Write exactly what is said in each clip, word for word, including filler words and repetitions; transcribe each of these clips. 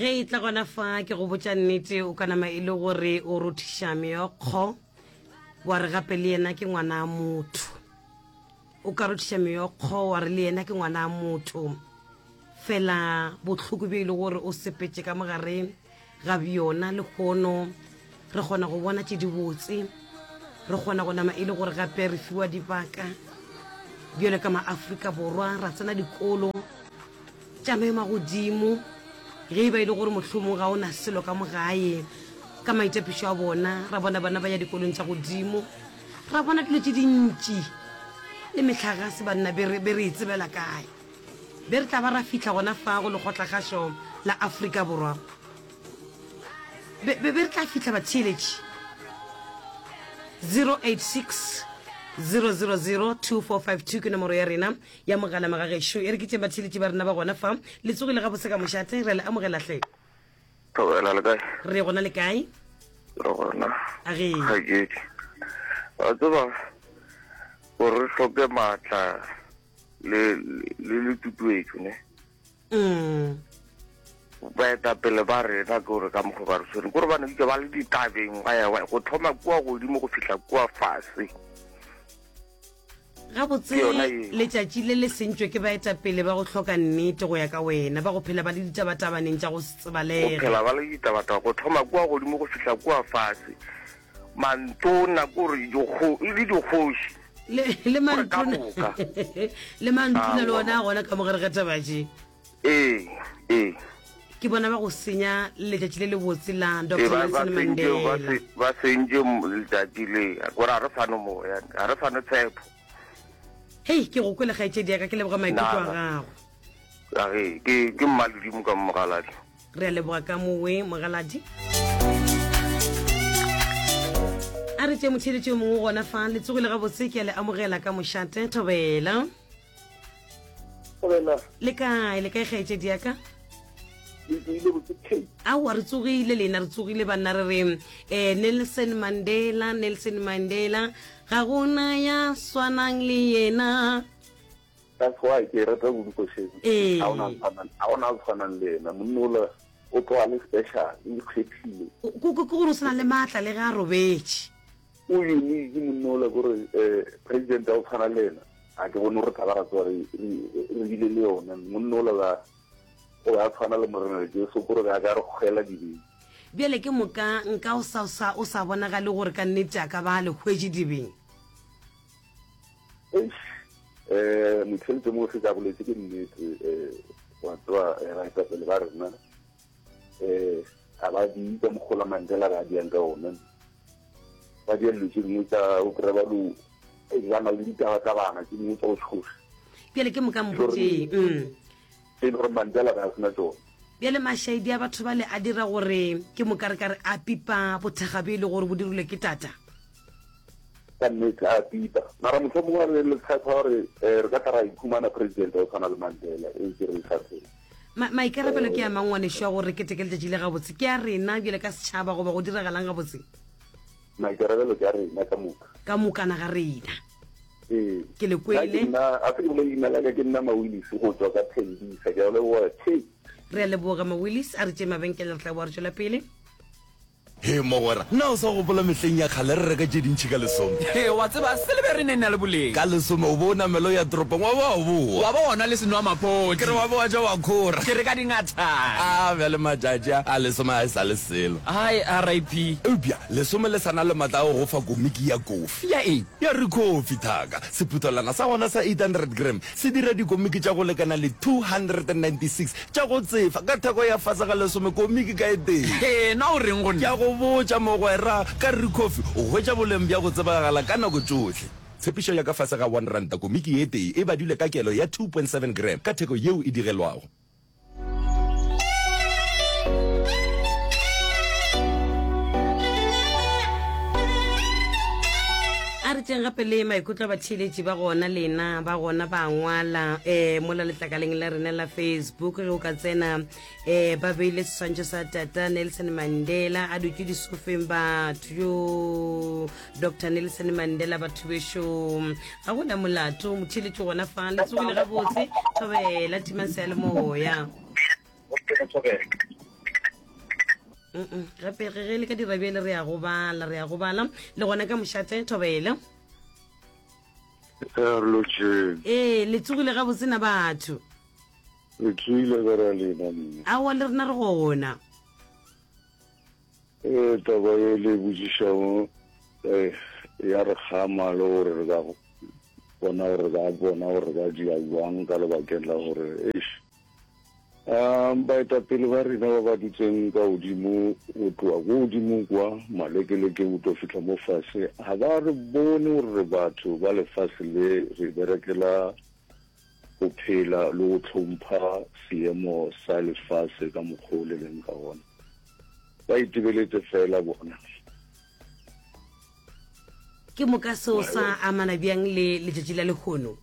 Ge e tla gona fa ke go botša nnete o ka nama e le gore o rothiša meokgo wa re gape le yena ke ngwana motho. O ka rothiša meokgo wa re le yena ke ngwana motho. Fela bohloko bjo e le gore o sepetše ka mogare ga bjona lehono re kgona go bona tše dibotse, re kgona go nama e le gore gape re fiwa dibaka bjalo ka maAfrika Borwa ra tsena dikolo tša maemo a godimo ge e ba e le gore mohlomong ga o na selo ka mo gae ka maitapišo a bona ra bona bana ba ya dikolong tša godimo ra bona dilo tše dintši le mehlagase banna be re be re e tsebela kae be re tla ba ra fihla gona fa go lekgotlakgašo la Afrika Borwa be be be re tla fihla batheeletši zero eight six zero zero zero two four five two ke nomoro ya rena ya mogala magagešo e re ke tšeng batheeletši ba rena ba gona fa le tsogile gabotse ka mošate re le amogela hle. Thobela le kae? Re gona le kae? Re gona. A ge. Kgaetšedi. Wa tseba gore re hloke maatla le le le tutuetšo ne. Mm. Baetapele ba rena ke gore ka mokgwa ba re tshwere kore ba ne ba le ditabeng ba ya go thoma kua godimo go fihla kua fase. Gabotse letšatši le le sentšwe ke baetapele ba go hloka nnete go ya ka wena, ba go phela ba le ditabatabaneng tša go se tsebalege. Go phela ba le ditabataba go thoma kua godimo go fihla kua fase. Mantona kore le dikgoši. Le, le mantona, le mantona le ona a gona ka mogare ga taba tše. Ee, ee. Ke bona ba go senya letšatši le lebotse la Doctor Nelson Mandela. Ba sentše letšatši le, gore ga re sane moya, ga re sane tshepo. Hei, ke go kwele kgaetšedi ya ka, ke leboga maikutlo a gago. A ge, ke, ke mmaledimo ka mogaladi. Re a leboga ka mowe mogaladi. A re tše motheeletši yo mongwe gona fa, le tsogile gabotse, ke a le amogela ka mošate, thobela. Thobela. Le kae, le kae kgaetšedi ya ka? Le tsogile botse Kate. Aowa, re tsogile lena, re tsogile banna re re eh, Nelson Mandela, Nelson Mandela, ga gona ya swanang le yena. That's why ke rata kudu košeng. Ee. Ga ona tshwanang, ga ona tshwanang le yena. Monna ola o tloga le special, o ikgethile. Ke ke gore o sena le maatla le ge a robetše. O unique monna ola kore eh president a o tshwana le yena. A ke bone gore tla ba ra tsoga re re bile le yona. Monna ola ba o be a tshwana le Morena Jesu kore be a ka re kgwela dibeng. Bjale ke moka nka o sa sa o sa bonagale gore ka nnete a ka ba a le hwetše dibeng. Eish, eh motheletše mo se ka boletse ke nnete eh wa tseba eh, baetapele ba rena eh ga ba di ka mokgola Mandela ba diang ka ona. Ba dia dilo tše dingwe tša o kry-a ba lo ba na le ditaba tsa bana tše dingwe tša go tshoša. Bjale ke moka mpotšeng. Mm. E le gore Mandela ga a sena tšona. Bjale mašaedi a batho bale a dira gore ke moka re ka re a pipa bothakga bjo e le gore bo dirilwe ke tata. Ka nnete a pipa. Mara mohlomongwe re le tshepa gore eh, re ka tla ra ikhumana president wa tshwana le Mandela e ke re sa phela. Ma maikarabelo ke a mang ngwanešu a gore re keteke letšatši le gabotse? Ke a rena bjale ka setšhaba goba go diragalang gabotse? Maikarabelo ke a rena ka moka. Ka mokana ga rena. Ee. Ke le Nna ke kwele. nna, a se ke bolele leina la ka, ke nna Mawillis go tšwa ka Tembisa. Ke a leboga. Kate. Re a leboga Mawillis, a re tšee mabenkele re tla boa re tšwela pele. Hee mogwera, na o sa gopola mehleng ya kgale re reka tše dintši ka lesome? Hee, wa tseba, se le be re ne na le boleng. Ka lesome o be o namela o ya toropong wa ba wa boa. Wa ba wa nwa le senwamaphodi. Ke re wa ba wa ja wa khora. Ke re ka dingathane. A bjale matšatši a, a lesome ga e sa le selo. Hai, R I P. Eupša lesome le sa na le matla a go go fa komiki ya kofi. Ya eng? Ya Ricoffy, thaka. Sephuthelwana sa gona sa eight hundred gram se dira dikomiki tša go lekana le two hundred and ninety six tša go tsefa ka theko ya fase ga lesome komiki ka e tee. Hee, na o reng go Ke a nna? go botša, mogwera, ka Ricoffy o hwetša boleng bja go tsebagala ka nako tšohle. Tshepišo ya ka fase ga one ranta komiki e tee e badilwe ka kelo ya two point seven gram ka theko yeo e digelwago. A re tšeng gape le maikutlo a batheeletši ba gona lena ba gona ba ngwala um mola letlakaleng la rena la Facebook ge o ka tsena um ba beile seswantšho sa tata Nelson Mandela a dutše disofeng batho yo Doctor Nelson Mandela batho bešo ga gona molato motheeletši gona fa le tsogile gabotse thobela timang seyalemoya. Mm-mm. Gape ge ge le ka dira bjale re ya go bala, re ya go bala le gona ka mošate. Thobela. Re lotšheng. Ee, le tsogile gabotse na batho? Re tsoile ka ra lena mme. Aowa, le rena re gona. Ee, taba ye le botšišago eh, ya re kgama le gore re ka bona gore re ka bona gore re ka dia jwang ka lebakeng la gore eish um baetapele ba rena ba ba dutseng ka godimo go tloga ko godimo kwa malekeleke go tlo fihla mo fase ga ba re bone gore re batho ba lefase le re berekela go phela le go hlompha seemo sa lefase ka mokgwa o le leng ka gona. Ba itebeletse fela bona. Ke moka seo sa amana bjang le letšatši la lehono?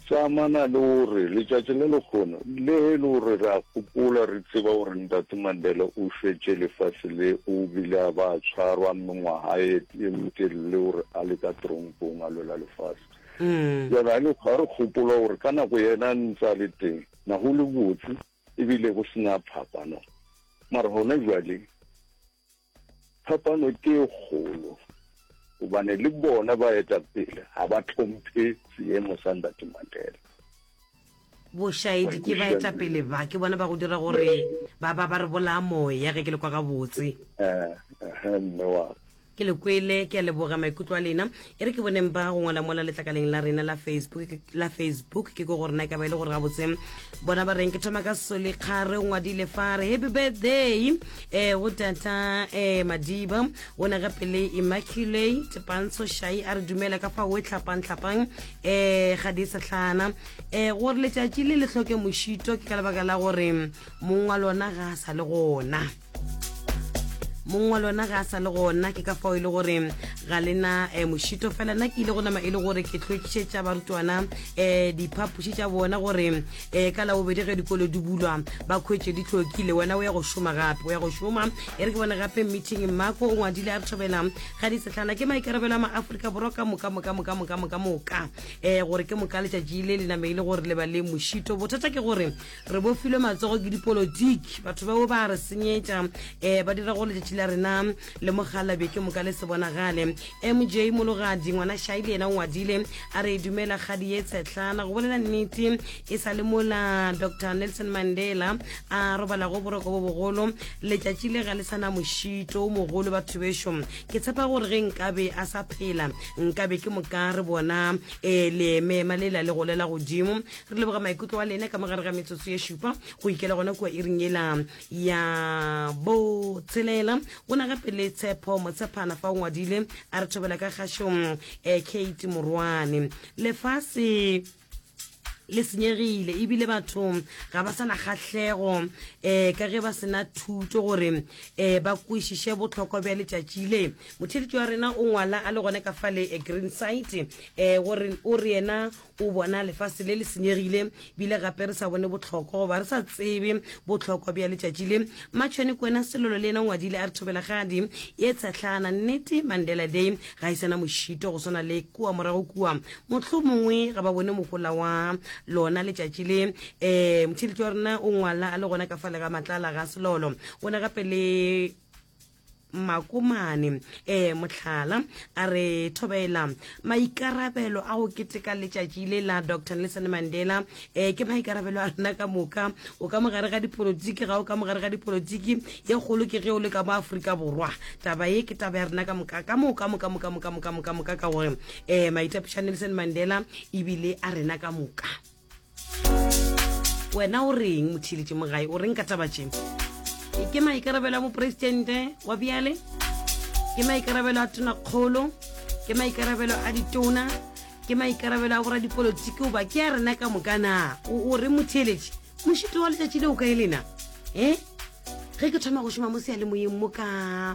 Sa amana le gore letšatši la lehono le e le gore re a gopola re tseba gore Ntate Mandela o šwetše lefase le o bile a ba a tshwarwa mengwaga e e metelele gore a le ka tronkong a lwela lefase. Bjale ga le ga re gopola gore ka nako yena a ntse a le teng na go le botse ebile go sena phapano mara gona jwale phapano ke e kgolo gobane le bona baetapele ga ba hlomphe seemo sa Ntate Mandela. Bošaedi ke baetapele ba, ke bona ba go dira gore ba ba ba re bolaya moya ge ke le kwa gabotse. Eh, eh, mme wa ka. Ke le kwele, ke a leboga maikutlo a lena. E re ke boneng ba go ngwala mola letlakaleng la rena la Facebook, la Facebook ke ko gore na e ka ba e le gore gabotse bona ba reng. Ke thoma ka Soli Kgare, o ngwadile fa re happy birthday eh go tata eh Madiba, o ne gape le Immaculate Pantsho Shai a re dumela ka fa o e tlhapang tlhapang eh ga di sehlana eh gore letšatši le le hloke mošito ke ka lebaka la gore mong wa lona ga a sa le gona. Mong wa lona ga a sa le gona, ke ka fao e le gore ga le na eh, mošito. Fela nna ke ile go nama e le gore ke hlwekišetša barutwana um diphapoši tša bona gore um ka Labobedi ge dikolo di bulwa ba khwetše di hlwekile. Wena o ya go šoma gape, o ya go šoma. E re ke bone gape meeting Mmako o ngwadile a re thobela ga di sehlana ke maikarabelo a maAfrika Borwa ka moka moka moka moka moka moka um gore ke moka letšatši le le name e le gore le ba le mošito. Bothata ke gore re bofilwe matsogo ke dipolotiki, batho bao ba re senyetša um ba dira gore letšatši la rena le mogalabje ke moka le se bonagale. M J Mologadi ngwana Shai le yena o ngwadile a re dumela kgadi ye tshehlana, go bolela nnete e sa le mola Doctor Nelson Mandela a robalago boroko bo bogolo letšatši le ga le sana mošito o mogolo. Batho bešo, ke tshepa gore ge nkabe a sa phela nkabe ke moka re bona um leemema lela le golela godimo. Re leboga maikutlo a lena ka mogare ga metsotso ye šupa go ikela gona kua iring yela ya botshelela. Go na gape le Tshepo Motshepana fa o ngwadile a re thobela ka kgašong eh, Kate Morwane, lefase le senyegile ebile batho ga ba sana kgahlego um ka ge ba sena thuto gore um ba kwešiše bohlokwa bja letšatši le. Motheletši wa rena o ngwala a le gona ka fale Green Site um gore o re yena o bona lefase le le senyegile bile gape re sa bone bohlokwa goba re sa tsebe bohlokwa bja letšatši le. Matšhone Kwena Selolo le yena o ngwadile a re thobelagadi ye tshehlana, nnete Mandela Day ga e sena mošito go swana le kua morago kua, mohlomongwe ga ba bone mohola wa lona letšatši le. Um motheletši wa rena o ngwala a le gona ka fale ga Matlala ga Selolo, o ne gape le Makomane eh mohlala a re thobela maikarabelo a go keteka letšatši le la Doctor Nelson Mandela eh ke maikarabelo a rena ka moka. O ka mogare ga dipolotiki, ga o ka mogare ga dipolotiki, ye kgolo ke ge o le ka mo Afrika Borwa. Taba ye ke taba ya rena ka moka ka moka moka moka moka moka moka moka ka gore eh maitapišo a Nelson Mandela ebile a rena ka moka. Wena o reng motheeletši mogae, o reng ka taba tše? Ke maikarabelo a mopresidente wa bjale, ke maikarabelo a tonakgolo, ke maikarabelo a ditona, ke maikarabelo a boradipolotiki, goba ke a rena ka moka na? O re motheeletši, mošito wa letšatši le o kae lena? E ge ke thoma go šoma mo seyalemoyeng mo ka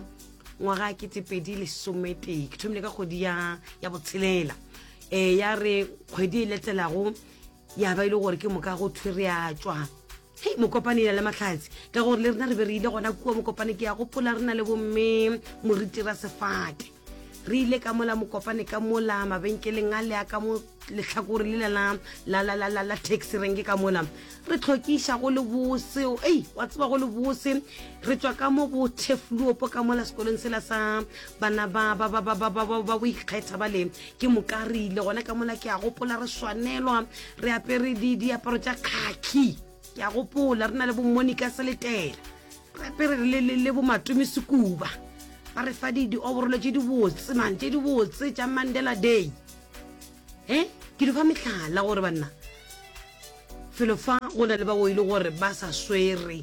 ngwaga ketepedi lesometee, ke thomile ka kgwedi ya ya botshelela, um ya re kgwedi e latelago ya ba e le gore ke moka go thwe re a tšwa hei mokopane ela le mahlatse, ka gore le rena re be re ile gona kua mokopane. Ke ya gopola re na le bomme moriti ra sefate Re ile ka mola Mokopane ka mola mabenkeleng a le a ka mo lehlakore lela la la la la la la taxi renke ka mola re tlhokiša go le bose. Ei, wa tseba go le bose. Re tšwa ka mo bo Thefluopo ka mola sekolong sela sa bana ba ba ba ba ba ba ba ba boikgetha ba le ke moka re ile gona ka mola. Ke a gopola re swanelwa re apere di diaparo tša khaki. Ke a gopola re na le bo Monica Seletela, re apere le le le bo Matome Sekuba, ba re fa di di-overall tše di botse man, tše di botse tša Mandela Day. E ke di fa mehlala gore banna felo fa go na le ba o ile gore ba sa swere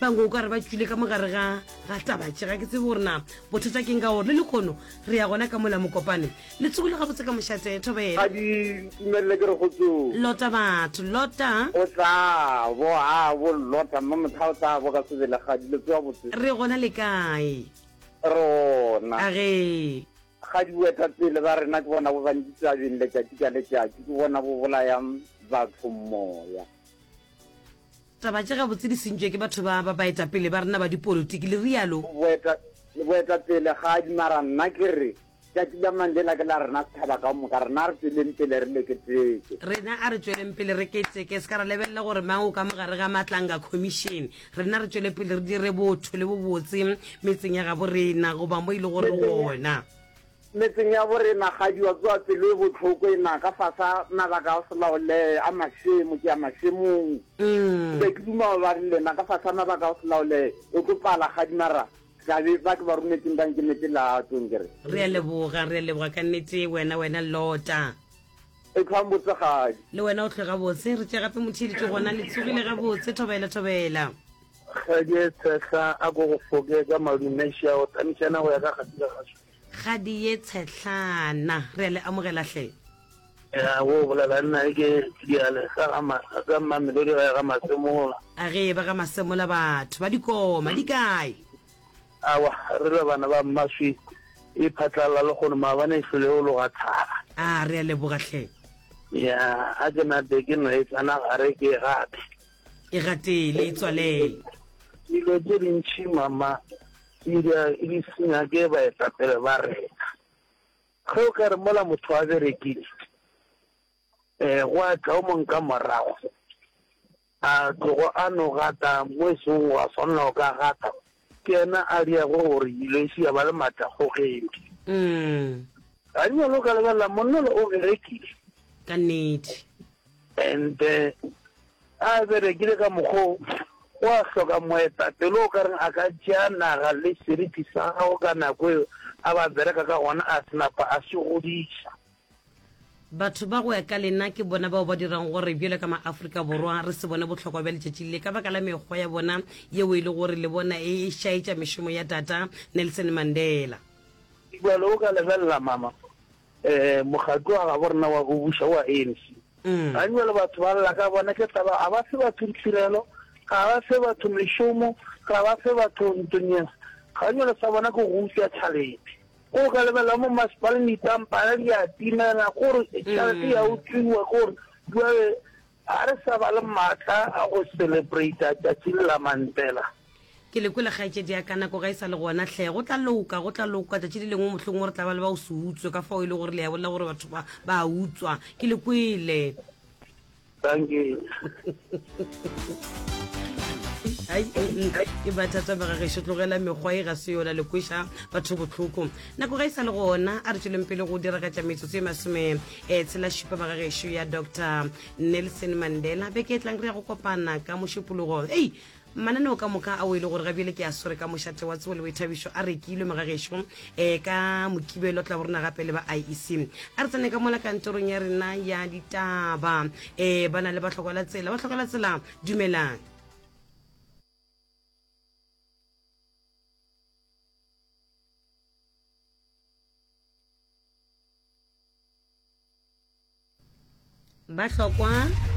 bangwe o ka re ba tswile ka mogare ga ga taba tše. Ga ke tsebe gore na bothata keng ka gore le lekgono re ya gona ka mola Mokopane. Le tsogile gabotse ka mošate, thobela? Ga di tumelele ke re go tso. Lota batho lota. O tla bo a bo lota mma motho o tla bo ka sebele ga di le tsoa botse. Re gona, le kae? Rona. A ge. Ga di boetapele ba rena ke bona bo bantsi tabeng letšatši ka letšatši, ke bona bo bolayang batho moya. Taba tše gabotse di sentšwe ke batho ba ba baetapele ba rena ba dipolotiki, le rialo. Boeta boetapele ga di mara nna ke re tšatši la Mandela ke la rena setšhaba ka moka, rena re tsweleng pele re leketeke. Rena a re tsweleng pele re keteke, se ka ra lebelela gore mang o ka mogare ga Matlanga Commission. Rena re tswele pele re dire botho le bobotse metseng ya gabo rena goba mo e le gore gona metseng ya bo rena. Ga di wa tsoa pelo e botlhoko e na ka fasa mabaka a go se laolehe a mašemo ke ya mašemong. Mm. Be ke duma ba re lena ka fasa mabaka a go se laolehe o tlo pala ga di mara tlabe ba ke ba rometseng ba nkemetse latong ke re. Re a leboga, re a leboga ka nnete wena wena lota. E tlhwang botse gadi. Le wena o tlhwe gabotse. Re tše gape motheeletši gona. Le tsogile gabotse, thobela, thobela? Kgadi e tshehla a ko go foke ka madumeši a o tamišana go ya ka gati ka gaso. Kgadi ye tshehlana, re a le amogela hle. Ya go bolela nna ke diale sa ga ma ga Mamelodi ga ga Masemola. A ge ba ga Masemola, batho ba dikoma di kae? Awa, re le bana ba mmaswi e phatlalla le kgono maabane e hlole o loga thaba. A re a leboga hle. Ya a ke nape ke no e tsena gare ke e gate. E gatele, e tswalele. Dilo tše dintšhi mama di di senya ke baetapele ba rena. Ge o ka re mola motho a berekile um go a tla o mong ka morago a tlogo a no gata mo e seng wa swanela go ka gata, ke yena a diago gore dilo e se ya ba le maatlakgogedi. Mm. Ga nyalo ka lebelela monna o berekile. Ka nnete. And a berekile ka mokgwa o a hloka moetapele o ka reng a ka tšea naga le seriti sa gago ka nako eo a ba bereka ka gona a senapa a se godiša. Batho ba go ya ka lena ke bona bao ba dirang gore bjalo ka maafrika Borwa re se bone bohlokwa bja letšatši le ka baka la mekgwa ya bona yeo e le gore le bona e šaetša mešomo ya tata Nelson Mandela. Jalo o ka lebelela mama um mokgatlo wa gabo rena wa go buša wa A N C, ga jale batho ba lla ka bona ke taba ga ba fe batho ditirelo, ga ba fe batho mešomo, ga ba fe batho ntonyeng. Ga jale sa bona ke go utswa tšhalete. Ko ka lebelela mo masepaleng ditampana di a timela kore tšhelete ya utswiwa, kore jale ga re sa ba le maatla a go celebrata tšatši le la Mandela. Ke le kwele kgaetšedi ya ka, nako ga e sa le gona hle. Go tla loka, go tla loka tšatši le lengwe, mohlomongwe re tla ba le ba o se utswe ka fao e le gore le ya bolela gore batho ba ba utswa. Ke le kwele. Thank you. Ai, ke bathata ba gagešo, tlogela mekgwa e ga se yona, le kweša batho bohloko. Nako ga e sa le gona, a re tsweleng pele go diragatša metsotso e masome um tshela šupa ba gagešo ya Doctor Nelson Mandela. Beke e tlang re ya go kopana ka mošupologo. Ei, mananeo ka moka ao e le gore ga bjale ke a swere ka mošate wa tsebo le boithabišo a rekilwe mogagešo. um ka Mokibelo tla bo rena gape le ba I E C. A re tsene ka mola kantorong ya rena ya ditaba, um ba na le bahlokwa la tsela. Bahlokwa la tsela, dumelang. Bahlokwa.